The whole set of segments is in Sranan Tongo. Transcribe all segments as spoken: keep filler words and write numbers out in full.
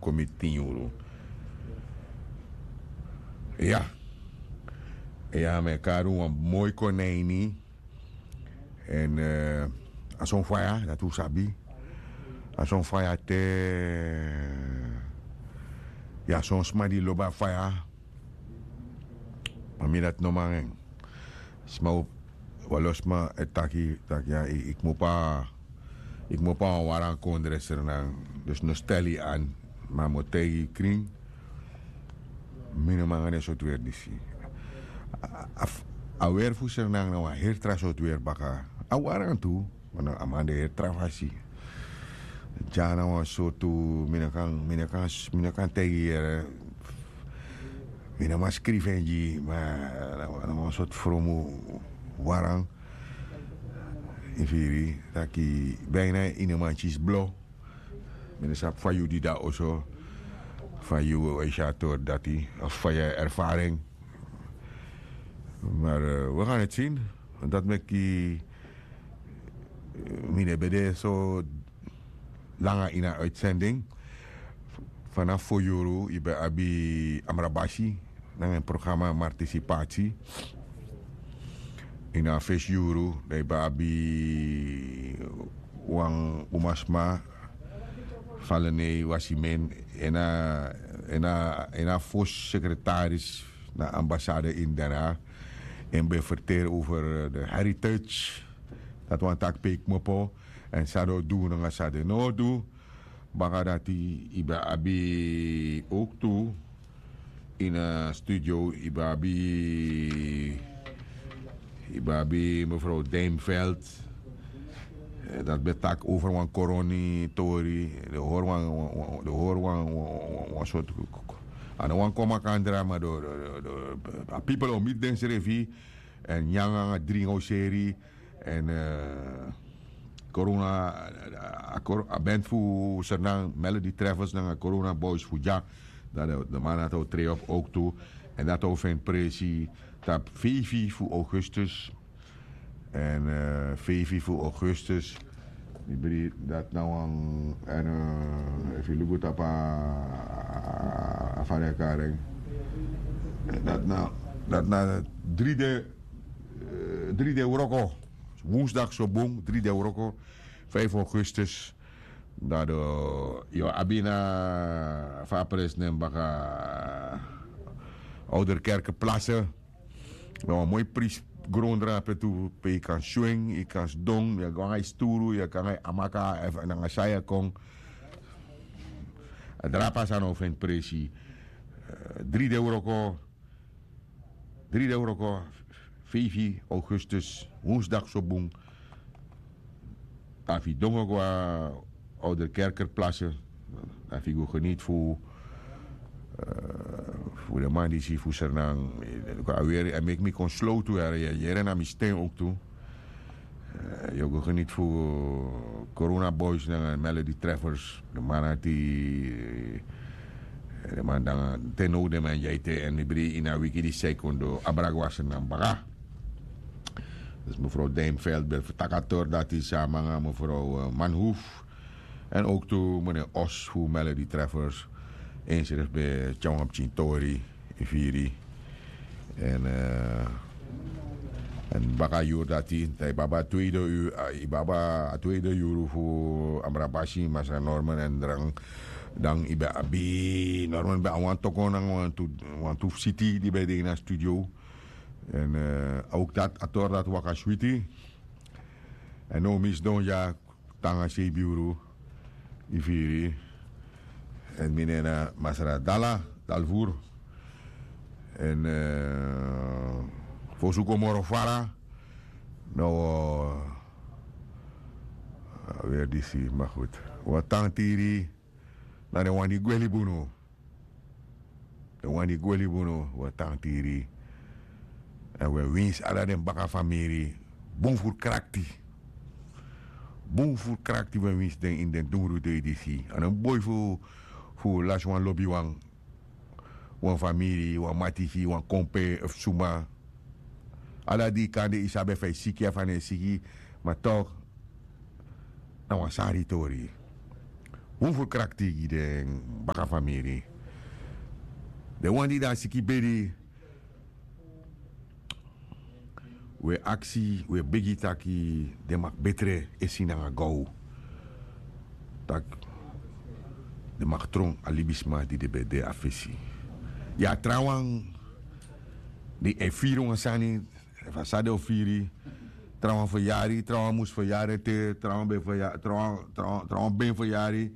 kon miti tin yuru. Ya. Ya, mi e kari wan moi konijni. Èn a son faya dati un sabi. A son faya te. Ya, son sma di lobi a faya. Ma mi dati no man en. Sma, walo sma e taki taki ya, yu kmopo a wan waran kondre srenan. Dus no stel yu an. Ma mi o taigi yu krin. Mi no man nanga den sortu weri disi. A weri fu srenan na wan heri tra sortu weri baka. A waran tu. A man de heri tra fasi. Dya na wan sortu, mi no kan mi no kan mi no kan taigi yu yere. Mi no man skrifi en gi yu ma na wan sortu fromu waran. Yu firi taki bina ini man kisi blo. Mi no sabi fa yu di de na oso, fa yu e si a tori dati of fa yu e erfari en. Mar wi gan eti sin. Dati meki mi no ben de so langa ini a uitsending. Fanafu fo yuru yu ben abi amrabasi nanga en programa martisipati. Ini a fesi yuru dan yu ben abi wan umasma, falenei wasimen, en a fosi sekretaris na ambasade ini dana. En ben ferteri over de heritage. Dati wani taki pe yu kmopo èn san den o du nanga san den no o du. Baka dati yu ben abi owktu ini a studio yu ben abi yu ben abi mefrow dimfeld. Dati ben taki over wan koroni tori. Den hori wan den hori wan wan sortu a no wan kon makandra ma den a pipel o miti densrefi. Èn nyango nanga dringi o seri. Èn korona a band fu sernan melody travels nanga korona boys fu dya. Dan den man dati o trei op owktu. Èn dati o feni presi tapu feifi fu augustus. Èn feifi fu augustus. Mi bri dati na wan èn efu yu luku tapu a fari a kari en. Dati na dati na dri de dri de wroko. Wonsdagso bun dri de wroko. Feifi augustus. Dan den yu o abi na fa a presi nen baka. Ouderkerke plase. Na wan moi prisi gron drape tu pe yu kan swing yu kan sidon yu kan nanga yu sturu yu kan nanga yu amaka efu nanga san yu e kon. A drape a sani o feni presi. Dri de wroko. Dri de wroko. Feifi augustus wonsdagso bun. Efu yu dongo go na ouderkerker plase efu yu go geniti fu fu den man disi fu sernan. A weri a meki mi kon slow tu yere na mi sten owktu. Yu o go geniti fu corona boys nanga melody treffers den man ati. Den man dan te now den man dyaite èn mi bri ini a wiki disi san yu kon du abra go na sernan baka. Dus mefrow dimfeld ben fu taki a tori dati sama nanga mefrow manhoef. Èn owktu mene os fu melody treffers. Ensrefi ben tyari wan pikin tori. Yu firi èn èn baka a yuru dati dan yu ben abi a tweede yuru fu amrabasi masra norman èn dran. Dan yu ben abi norman ben a wan tokon nanga wantu fu siti di ben de ini a studio. Èn a owktu dati a tori dati waka switi. Èn now mi sidon dya tanga sei biuru. Yu firi èn mi nen na masra dala dalvur. Èn fosi un kon moro fara. No. Weri disi ma gudu. Wan tan tiri na den wan di gwe libi unu. Den wan di gwe libi unu wi e tan tiri. Èn wi e winsi ala den baka famiri. Bun furu krakti. Bun furu krakti wi e winsi den ini den dungru dei disi a no mus boi fu fu lasi wan lobiwan. Wan famiri wan matiki wan kompe efu suma. Ala di yu kande yu sabi efu a e siki efu a no e siki. Ma tok na wan sari tori. Un fu krakti gi den bakafamiri. Den wan di de na siki bedi, wi e aksi, wi e begi taki den mag betre e si nanga gaw. Tak' den mag tron a libisma di den ben de a fesi. Ya, trawan di e firi wan sani, efu a sa den o firi. Trawan feryari, trawan mus feryari ete, trawan ben feryari, trawan ben feryari.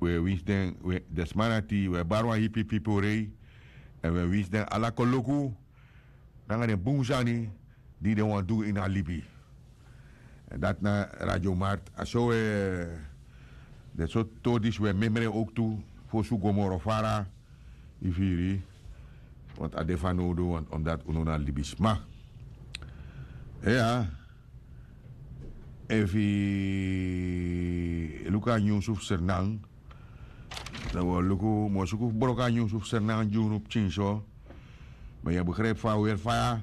Wi e winsi den, den sma dati, wi e bari wan hipi pipori. Èn wi e winsi den ala koloku nanga den bun sani di den wani du ini a libi. Èn dati na Radio Mart. A so wi e, den sortu tori disi wi e memre owktu, fosi un go moro fara. Yu firi? Want a de fanowdu, want omdati unu na libisma. Iya. Efu yu luku a nyunsu fu Sranan, dan wi o luku, mi o suku fu broko a nyunsu fu Sranan gi unu pikinso. Ma yu e begrijpi fa a weri faya.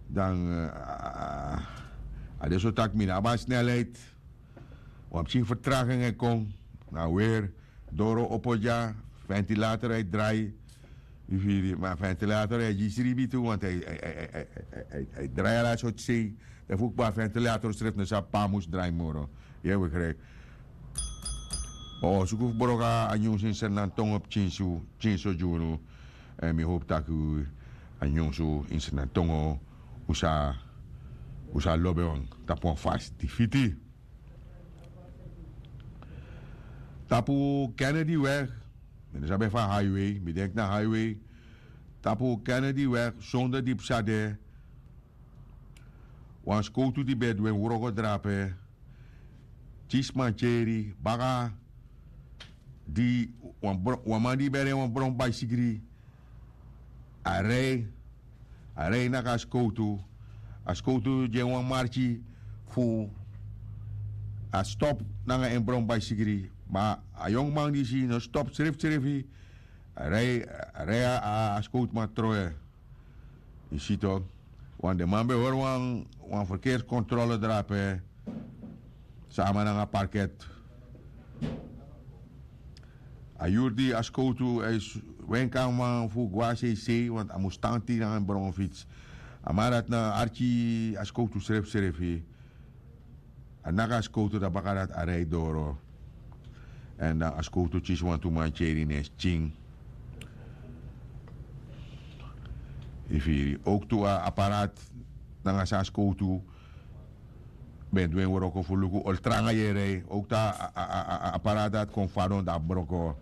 Dan a de so taki mi no abi a snelheid. Wan pikin vertraging e kon. Na weri, doro opo dya, ventilator e drai. Yu firi? Ma ventilator e gi sribi tu, want a e drai ala sortu sei. Dan fu kba ventilator srefi no sabi pe a mus drai moro. Yu e begrijpi? Ma wi o suku fu broko a nyunsu ini Sranan tongo pikinso, pikinso gi unu. Èn mi howpu taki a nyunsu ini Sranan tongo, un sa, un sa lobi en tapu wan fasi di fiti. Tapu Kennedy weg, mi no sabi efu a highway, mi denki na highway. Tapu Kennedy weg, sonde di psa de, wan skowtu di ben e du en wroko drape, kisi mankeri baka, di wan bron, wan man di ben e rei wan bron baisigri, a rei, a rei naki a skowtu. A skowtu gi en wan marki fu a stop nanga en bron baisigri. Ma a yongu man disi no stop srefsrefi. A rei, a rei a, a skowtuman trowe. Yu si tok. Want den man ben hori wan, wan verkeerskontrole drape sama nanga parket. A yuru di a skowtu, a e wenki a man fu go na seisei, want a mus tan tiri nanga en bronfits. A man dati no arki a skowtu srefsrefi. A naki a skowtu, dan baka dati a rei doro. Èn dan a skowtu kisi wantu mankeri na en skin. Yu firi? Owktu a apparaat nanga san a skowtu ben du en wroko fu luku ol tranga yu e rei. Owktu a, a, a, a apparaat dati kon fadon, dan a broko.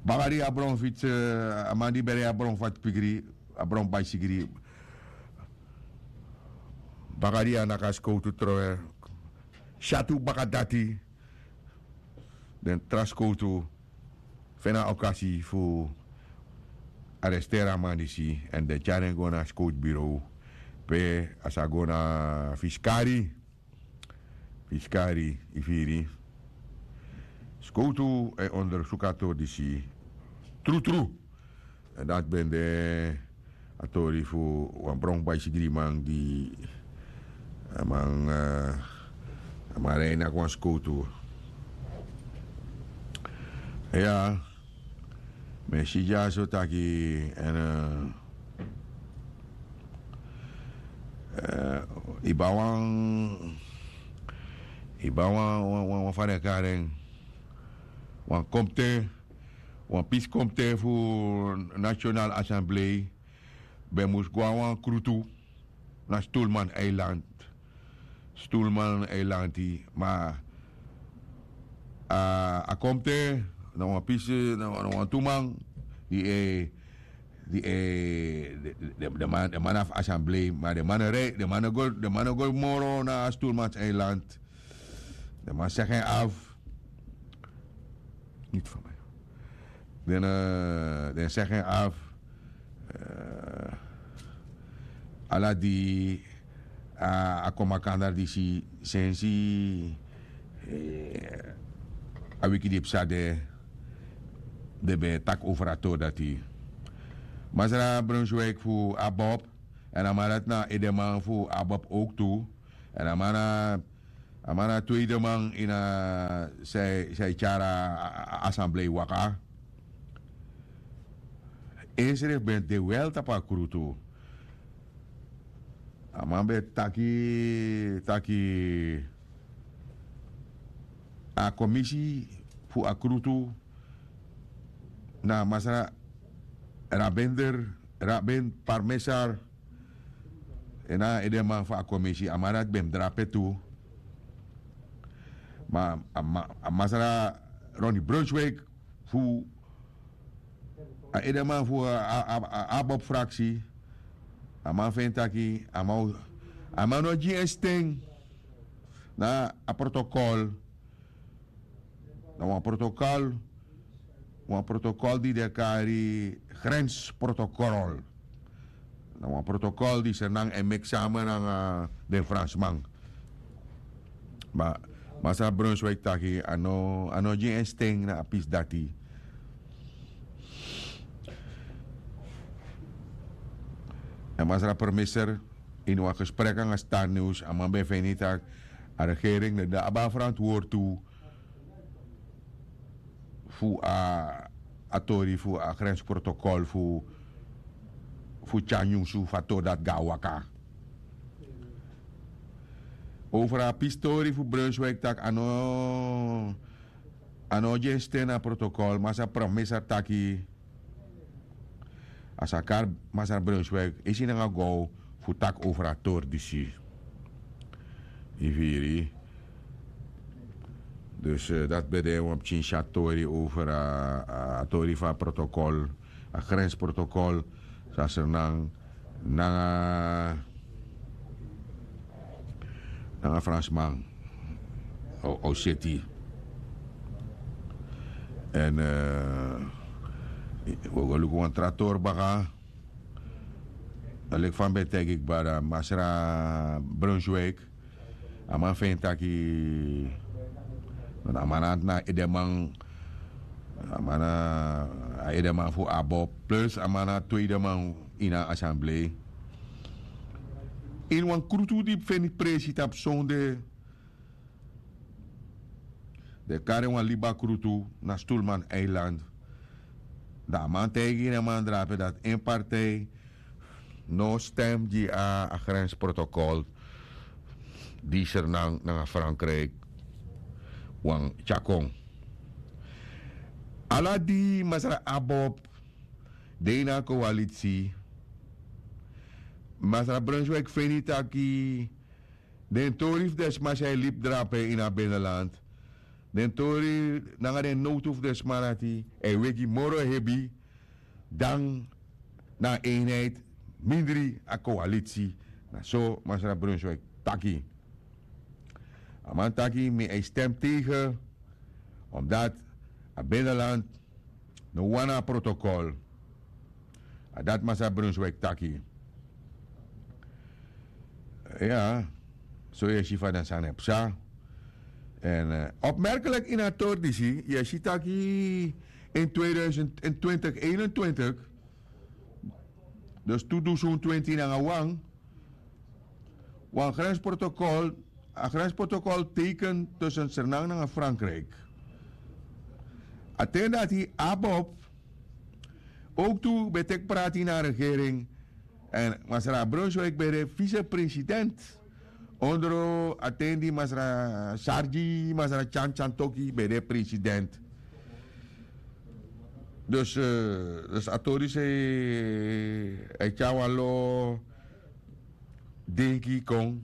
Baka di a bron fitsi, a man di ben rei a bron fati pikri, a bron baisigri. Baka di a naki a skowtu trowe. Syatu baka dati, den tra skowtu feni a okasi fu aresteri a man disi, èn den tyari en go na a skowtubureau, pe a sa go na fiskari. Fiskari, yu firi? Skowtu e ondersuku a tori disi trutru. Èn dati ben de a tori fu wan bron baisigriman di a man, eh, a man rei naki wan skowtu. Ya, mi e si dyaso taki, èn, eh, eh, yu abi wan, yu abi wan, wan, wan, wan fa den e kari en, wan komite, wan pisi komite fu National Assembly ben mus go na wan krutu na Stoelman Eiland. Stoelman Eiland, ma a, a komite na wan pisi, na, na wantu man di e, di e, de, de, de man, de man fu assemblee, ma den man no rei, den man no go, den man no go moro na Stoelman Eiland. Den man segi en af. Niet van mij. Den, eh, den segi en af. Eh, ala di a, a kon makandra disi sensi, eh, a wiki di psa de, den ben taki over a tori dati. Masra Brunswijk fu ABOP, èn a man dati na edeman fu ABOP ook tu. Èn a man na A man na a tweede man ini a san e tyari a asamblei waka. Ensrefi ben de wel tapu a krutu. A man ben taki taki a komisi fu a krutu na masra rabender raben parmesar. En na a edeman fu a komisi a man dati ben mus drape tu. Ma a masra roni brunswik fu a edeman fu a abob fraksi. A man feni taki a man no gi en sten na a protokol. Na wan protokol wan protokol di den e kari grensprotokol. Na wan protokol di sernan e meki sama nanga den fransman. Ma masra brunswik taki a no gi en sten na a pisi dati. Èn masra permiser ini wan gesprek nanga star news a man ben feni tak' a regering no de abi a ferantwortu fu a tori fu a grensprotokol fu tyari nyunsu fu a tori dati go na waka. Over a pistori fu brunswik tak' a no gi en sten na protokol masra permiser taki a sa kari masra brunswik isi nanga gow fu taki over a tori disi. Yu firi? Dus dati ben de wan pikin sya tori over a tori fu a protokol, a grensprotokol san sernan nanga nanga fransman. Oseti. Èn wi o go luku wan tra tori baka. Leki fa mi ben taigi kba dan masra brunswik a man feni taki a man na edeman. A man na a edeman fu abob plus a man na a tweede man ini a asamblei. Ini wan krutu di feni presi tapu sonde den kari wan liba krutu na stulman eiland. Dan a man taigi den man drape dati en partij no stem gi a grensprotokol di sernan nanga frankrijk wan tyakon. Ala di masra abob de ini a koalitsi. Masra brunswik feni taki den tori fu den sma san e libi drape ini a beneland, den tori nanga den nowtu fu den sma dati e wegi moro hebi dan na a eenheid mindri a koalitsi. Na so masra brunswik taki. A man taki mi e stem tegen omdat a beneland no wani a protokol. A dati masra brunswik taki. Ya, so yu e si fa den sani e psa. Èn opmerkelik ini a tori disi yu e si taki in tweeduizend en twintig eenentwintig, dus tu dusun twinti nanga wan wan grensprotokol. A grensprotokol teken tussen sernan nanga frankrijk. A ten dati abob ook tu ben teki prati ini a regering. Èn masra brunswik ben de visepresident ondro a ten di masra sargi masra tyan tyan toki ben de president. Dus a tori sei a e tyari wan lo denki kon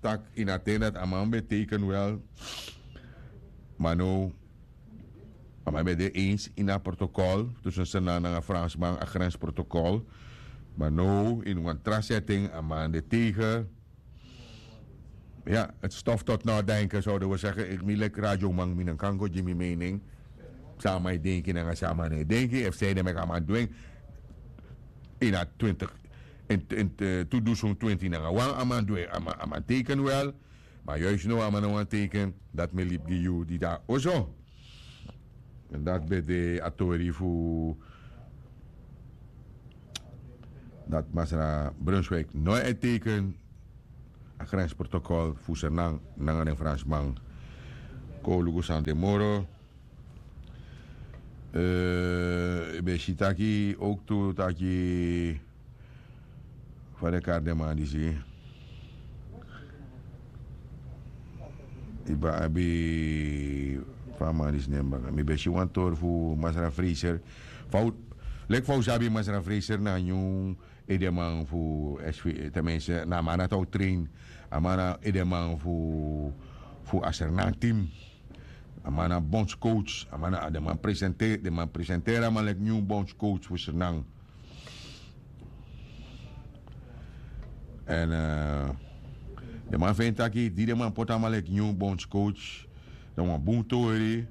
tak' ini a ten dati a man ben teken wel. Ma now a man ben de eens ini a protokol tusun sernan nanga fransman a grensprotokol. Ma now ini wan tra setting a man de tegen. Ya, het stof tot nadenken zouden we zeggen. Ik mi leki radioman mi no kan go gi mi mening. San a man e denki nanga san a man no e denki efu san ede meki a man du en. Ini a twintig in tu dusun twinti nanga wan a man du en a man teken wel. Ma yuis now a man no wani teken. Dati mi e libi gi yu di de na oso. Dati ben de a tori fu dati masra brunswik no e teken. a grensprotokol fu Sernang nanga den Fransman. Kon un luku san de moro. Yu ben si taki owktu taki fa den kari den man disi. Yu ben abi fa a man disi nen baka, mi ben si wan tori fu Masra Fraser. Fa un leki fa un sabi Masra Fraser na nyun edeman fu sv, tenminste na a man dati a o train. A man na edeman fu fu a Sernang team. A man na bondscoach. A man na den man presenteri den man presenteri a man leki nyun bondscoach fu Sernang. Èn den man feni taki di den man poti a man leki nyun bondscoach, dan wan bun tori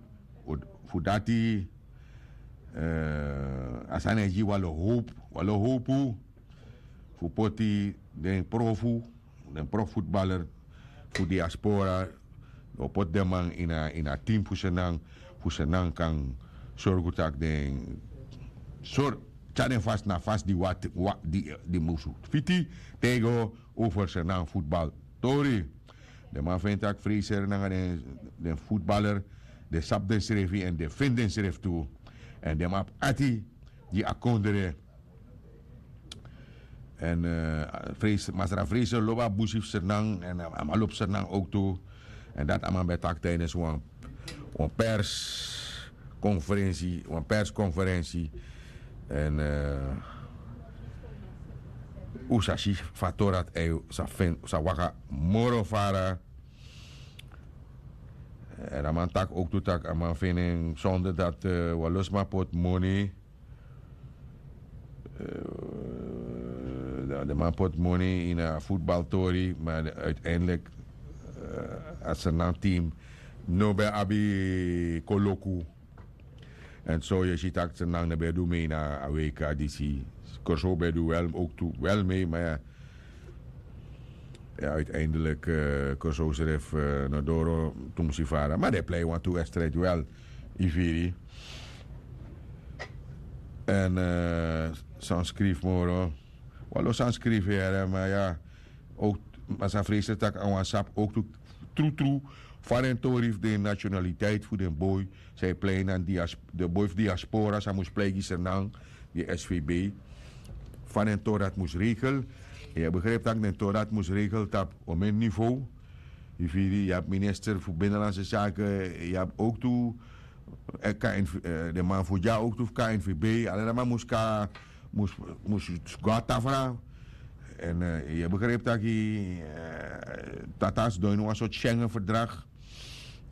fu dati. A sani e gi wan lo howpu wan lo howpu fu poti den profu den profutbaler fu diaspora. O poti den man ini a ini a tim fu Sernang fu Sernang kan sorgu tak' den sori tyari den fasi na fasi di wati di musu fiti. Te yu go over Sernang futbal tori. Den man feni tak' Fraser nanga den futbaler den sabi densrefi èn den feni densrefi tu. Èn den man abi ati gi a kondre. Èn Masra Fraser lobi a busi fu Sernang èn a man lobi Sernang owktu. Èn dati a man ben taki tijdens wan wan perskonferensi wan perskonferensi. Èn un sa si fa a tori dati ei sa feni un sa waka moro fara. Èn a man taki owktu tak' a man feni en sonder dati wan lo sma poti moni. Den man poti moni ini a futbaltori ma uiteindelik a Sernang team no ben abi koloku. Èn so yu e si tak' Sernang no ben du mei na a weika disi. Kòrsou ben du wel owktu wel mei ma ya. Uiteindelik Kòrsou srefi no doro tumsi fara ma den e plei wantu wedstrijd wel. Yu firi. Èn san skrifi moro wan lo san skrifi here ma ya. Masra Fraser tak' a wan sabi owktu trutru fa den tori fu den nationaliteit fu den boi san e plei na den boi fu diaspora san mus plei gi Sernang di svb. Fa den tori dati mus regel. Yu e begripi tak' den tori dati mus regel tapu omen nivo. Yu firi yu abi minister fu binnenlandse sake. Yu abi owktu den man fu dya owktu fu knvb ala den man mus kon mus go na tafra. Èn yu e begripi tak' tata sidon ini wan sortu schengen ferdrag.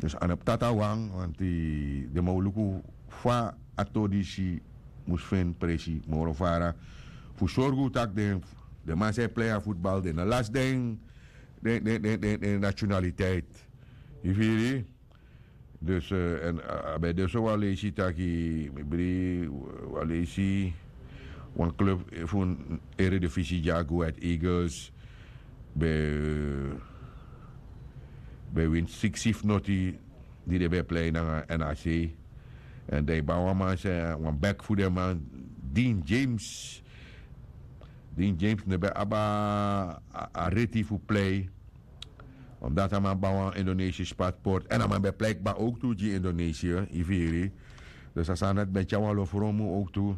Dus a no ptata wan wanti den man o luku fa a tori disi mus feni presi moro fara fu sorgu tak' den den man san e plei a futbal den no lasi den den den den den nationaliteit. Yu firi. Dus èn a ben de so wan leisi taki mi bri wan leisi wan klub fu eredivisie dya go ahead eagles ben ben win siksi fu noti di den ben e plei nanga nac. Èn dan yu ban wan man se wan bek fu den man dean james. Dean james no ben abi a reti fu plei. Omdati a man ban wan indonesius pasport èn a man ben plei kba owktu gi indonesia yu firi. Dus a sani dati ben tyari wan lo fromu owktu.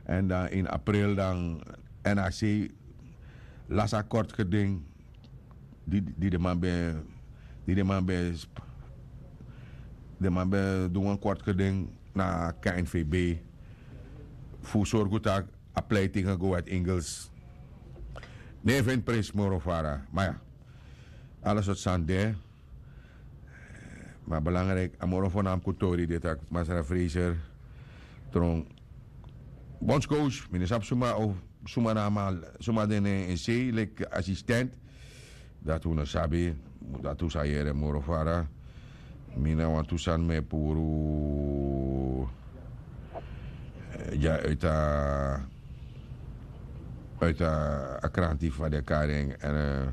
Èn dan ini april dan nac lasi a kortgeding di di den man ben di den man ben den man ben du wan kortgeding na knvb fu sorgu tak' a pleitingen go uit ingels. Ne feni prinsi moro fara ma ya. Ala sortu sani de. Ma belangrijk a moro fo na mi kutori de tak' masra fraser tron bondscoach mi no sabi suma of suma na a man suma de nen en sei leki asistent. Dati un no sabi dati un sa yere moro fara. Mi na wantu sani mi e puru dya uiti a kranti fa den e kari en èn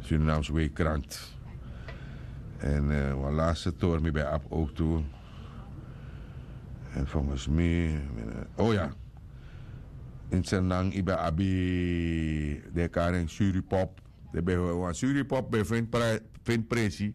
surinamse wei kranti. Èn wan laste tori mi ben abi owktu. Èn fonges mi o ya. In senang yu ben abi den e kari en suripop. Den ben wan suripop ben feni presi.